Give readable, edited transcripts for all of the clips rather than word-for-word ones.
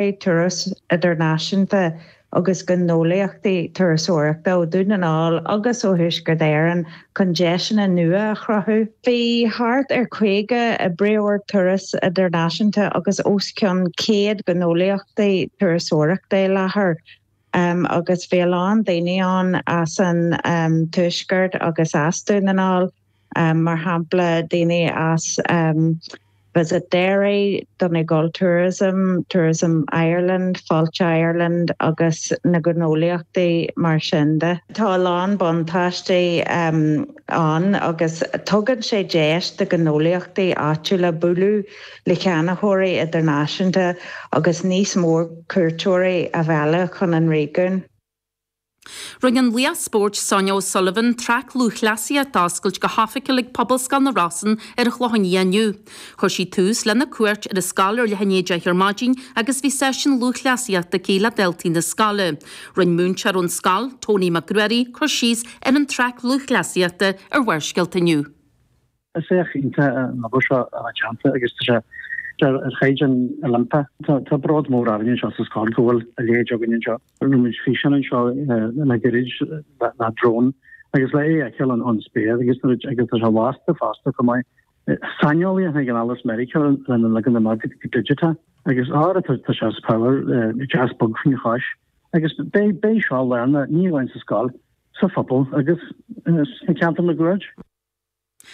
Turas Idirnáisiúnta agus gnólachtaí turasóireachta ó Dhún na nGall agus ó Thuaisceart Éireann chun deiseanna nua a chruthú. Bhí thart ar 50 oibreoir turas idirnáisiúnta agus os cionn 100 gnólachtaí turasóireachta i láthair agus bhí a lán daoine ann as an Tuaisceart agus as Dún na nGall. mar shampla daoine as Visit Derry, Donegal Tourism, Tourism Ireland, Fáilte Ireland agus na gnólachtaí mar sin de. Tá a lán buntáistí ann agus tugann sé deis do ghnólachtaí áitiúla bualadh le ceannaitheoirí idirnáisiúnta agus níos mó cuairteoirí a mhealladh chun an réigiúin. Rinne an laoch spóirt Sonia O'Sullivan traic lúthchleasaíochta a oscailt go hoifigiúil ag Pobalscoil na Rosann ar an Chlochán Liath inniu. Chuir sí tús lena cuairt ar an scoil ar leath i ndiaidh 10 ar maidin agus bhí seisiún lúthchleasaíochta aici le daltaí na scoile. Rinne múinteoir ón scoil, Tony Mac Ruairí, cur síos ar an traic lúthchleasaíochta ar Bharrscéalta inniu. Is éacht iontach an obair seo atá déanta agus tá sé ar chaighdeán Oilimpeach. Tá bród mór orainn anseo sa scoil go bhfuil a leithéid againn anseo. Rinne muid físeán anseo le gairid le drone agus le é a fheiceáil ón spéir agus agus tá sé lasta fosta chomh maith. Saineolaí a tháinig anall as Meiriceá lena leagan amach go digiteach agus ára tá sé as power deas bog faoina chois agus beidh seo lárnach ní amháin sa scoil, sa phobal agus sna ceantair máguaird.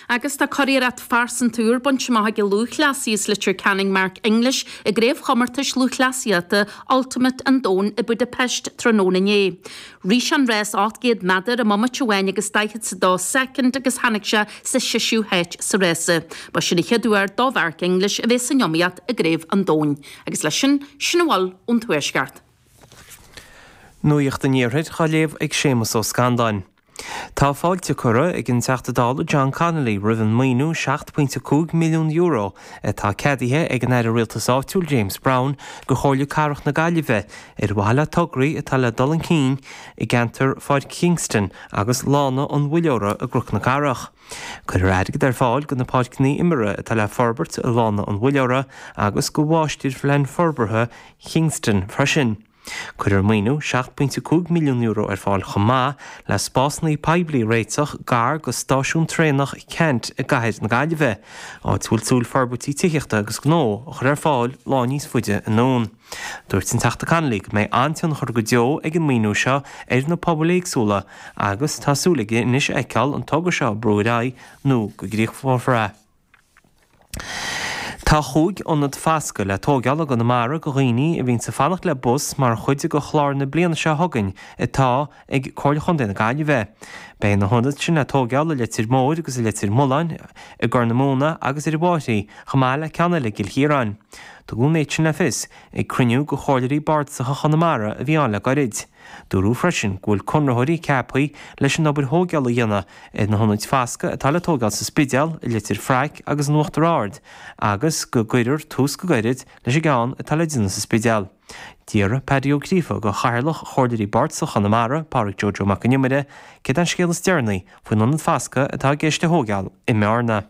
Agus tá curiarracht phearsanta úr bainte amach ag an lúthchleasaí as Leitir Ceanainn Mark English i gCraobhchomórtais Lúthchleasaíochta Ultimate an Domhain i Budapest tráthnóna inné. Rith sé an rás 800 méadar i mbomaite amháin agus 42 soicind agus tháinig sé sa seisiú háit sa rása. Ba sin an chéad uair do Mhark English a bheith san iomaíocht i gCraobh an Domhain. Agus leis sin, sin a bhfuil ón Tuaisceart. Nuacht an Iarthair á léamh ag Séamus Ó Scanláin. Tá fáilte curtha ag an Teachta Dála John Connolly roimh an maoiniú €7.5 milliún atá ceadaithe ag an Aire Rialtais Áitiúil James Browne do Chomhairle Cathrach na Gaillimhe ar mhaithe le tograí atá le dul chun cinn i gceantar Pháirc Kingston agus Lána an Mhuilleora i gCnoc na Cathrach. Cuirfear airgead ar fáil do na páirceanna imeartha atá le forbairt i Lána an Mhuilleora agus do Mháistirphlean Forbartha Kingston freisin. Cuirfear maoiniú €7.5 milliún ar fáil chomh maith le spásanna poiblí a réiteach gar go stáisiún traenach Ceannt i gcathair na Gaillimhe, áit a bhfuil súil forbairtí tithíochta agus gnó a chur ar fáil lá níos faide anonn. Dúirt an Teachta Connolly go mbeidh an-tionchar go deo ag an maoiniú seo ar na pobail éagsúla agus tá súil aige anois a fheiceáil an togra seo ag brú ar aghaidh nó go gcríochnófar é. Tá chúig ionad fasctha le tóigeáil i gConamara go dhaoine a bhíonns ag fanacht le bus mar chuid de chlár na bliana seo chugainn atá ag Comhairle Chontae na Gaillimhe. Beidh na hionaid sin le tóigeáil i Leitir Móir agus i Leitir Mealláin, i gCorr na Móna agus ar an bhFairche, chomh maith le ceann eile i gCill Chiaráin. Tugadh an méid sin le fios ag cruinniú de Chomhairleoirí Bardasacha Chonamara a bhí ann le gairid. Dúradh freisin go bhfuil conraitheoirí ceaptha leis an obair thóigeála a dhéanamh ar na hionaid fasctha atá le tóigeáil sa Spidéal, i Leitir Fraic agus in Uachtar Ard agus go gcuirfear tús go gairid leis an gceann atá le déanamh sa Spidéal. D'fhiafraigh Paddy Ó Gríofa de Chathaoirleach Chomhairleoirí Bardasacha Chonamara, Pádraig Joe Joe Mac an Iomaire, céard é an scéal is deireanaí faoin ionad fasctha atá i gceist a thóigeáil i mBearna.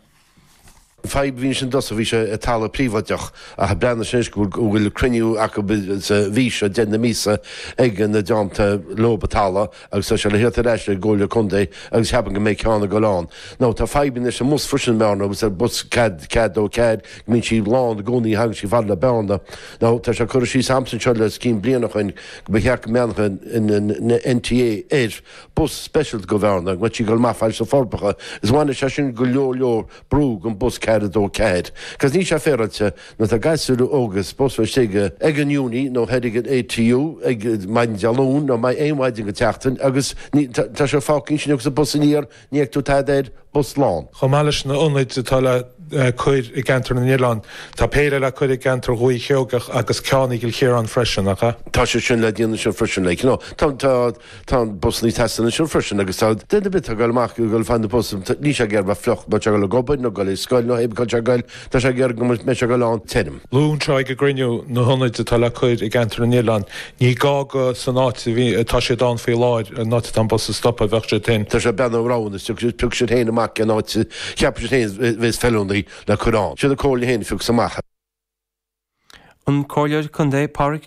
An fadhb a bhí ansin i dtosach, bhí sé i talamh príobháideach ach breathnaigh sé anois go bhfuil cruinniú acu sa mhí seo, deireadh na míosa, ag na dteannta leob an talamh agus tá sé le theacht ar ais ag an gComhairle Contae agus cheapfainn go mbeidh ceann ag dul ann. Now tá fadhbanna leis an mbus freisin i mBearna agus ar bus 4, 4 2 4 go mbíonn sí lán i gcónaí thagann sí fad le Bearna. Now tá sé curtha síos a'msa anseo le os cionn bliana ó shoin go mba cheart go mbeannódh an NTA ar bus speisialta go Bhearna, go mbeadh sí ag dul amach fad leis na Forbacha, is bhainfeadh sé sin go leor leor brú gon bus 4 2 4. Cos níl sé féaráilte nuair atá gasúir óga supposed bheith istigh ag an uni nó thoir ag an ATU ag maidin Dé Luain nó aon mhaidin go tseachtain agus ní tá sé fágtha ansin agus an bus aniar ní fheic tú tada air, bus lán. Chomh maith leis na hionaid atá le cur i gceantar na nOileán, tá péire le cur i gceantar Dhúiche Sheoigeach agus ceann i gCill Chiaráin freisin, nach ea? Tá sé sin le déanamh ansin freisin, like, you know, tá, tá, tá an busanna ag teastáil ansin freisin agus tá duine ar bith atá ag dul amach ag dul fá na bus, níl sé ag iarraidh bheith fliuch, má tá sé ag dul ag obair nó ag dul ag scoil nó hé cá sé ag dul, tá sé ag iarraidh go mbeidh sé ag dul ann tirim. Luadh anseo ag an gcruinniú na hionaid atá le cur i gceantar na nOileán. Ní gá go san áit a bhí, atá siad ann faoi láthair, an áit atá an bus ag stopadh, a bheadh siad féin. Tá sé ag breathnú ar roghanna, piocfaidh siad féin amach cén áit a cheapfaidh siad féin a bheas feiliúnaí le cur ann. Siad an Comhairle féin a phiocfas amach. An Comhairleoir Contae Pádraic.